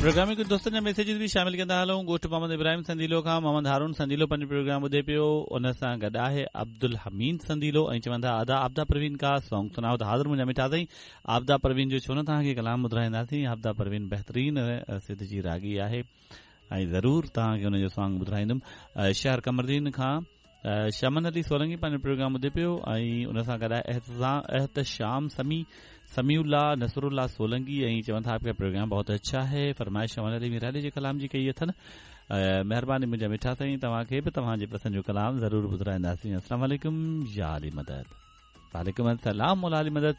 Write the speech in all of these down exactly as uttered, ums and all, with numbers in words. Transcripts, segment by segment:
Programme में कुझु दोस्तनि जा मैसेज बि शामिल कंदा हलूं। ॻोठ मोहम्मद इब्राहिम संदीलो खां मोहम्मद हारून संदीलो पंहिंजो प्रोग्राम ॿुधे पियो। उन सां गॾु आहे अब्दुल हमीद संदीलो ऐं चवनि था अदा आबदा परवीन का सॉन्ग सुनाओ। त हाज़िर मुंहिंजा मिठा साईं, आबदा परवीन जो छो न तव्हांखे कलाम ॿुधाईंदासीं। आबदा परवीन बहितरीन सिंध जी रागी आहे ऐं ज़रूरु तव्हांखे हुनजो सॉन्ग ॿुधाईंदुमि। शहर कमरदीन खां शमन अली सोलंगी पंहिंजो प्रोग्राम ॿुधे पियो ऐं उन सां गॾु आहे एहतशाम समी, समीउल्ला, नसरुल्ला सोलंगी ऐं चवनि था आपका प्रोग्राम बहुत अच्छा है। फरमाइश शमन अली मीराली जे कलाम जी कई अथनि। महिरबानी मुंहिंजा मिठा साईं, तव्हांखे बि तव्हांजे पसंदि जो कलाम ज़रूरु ॿुधाईंदासीं। अस्सलाम वालेकुम या अली मदद। वालेकुम अस्सलाम मौला अली मदद।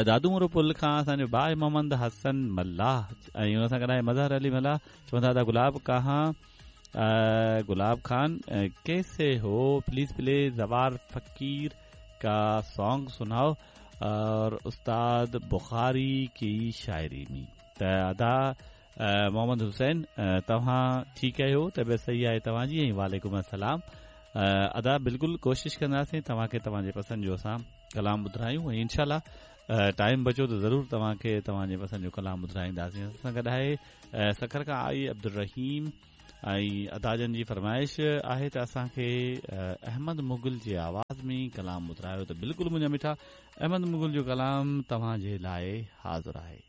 दादू मोरो पुल खां असांजो भाई मोहम्मद हसन मल्लाह ऐं उन सां गॾु आहे मज़हर अली मल्लाह। चवनि था अदा गुलाब कहाँ, गुलाब खान कैसे हो, प्लीज प्लीज जवार फकीर का सॉन्ग सुनाओ और उस्ताद बुखारी की शायरी में। त अदा मोहम्मद हुसैन तव्हां ठीकु आहियो, तबियत सही आहे तव्हांजी? ऐं वालेकुम अस्सलाम अदा, बिल्कुलु कोशिशि कंदासीं तव्हांखे तव्हांजे पसंदि जो असां कलाम ॿुधायूं ऐं इंशाल्लाह टाइम बचो त ज़रूरु तव्हांखे तव्हांजे पसंदि जो कलाम ॿुधाईंदासीं। असां गॾु आहे सखर खां आई अब्दुल रहीम ऐं अदाजन जी फरमाइश आहे त असांखे अहमद मुगल जे आवाज़ में कलाम ॿुधायो। त बिल्कुलु मुंहिंजा मिठा, अहमद मुगल जो कलाम तव्हांजे लाइ हाज़िर आहे।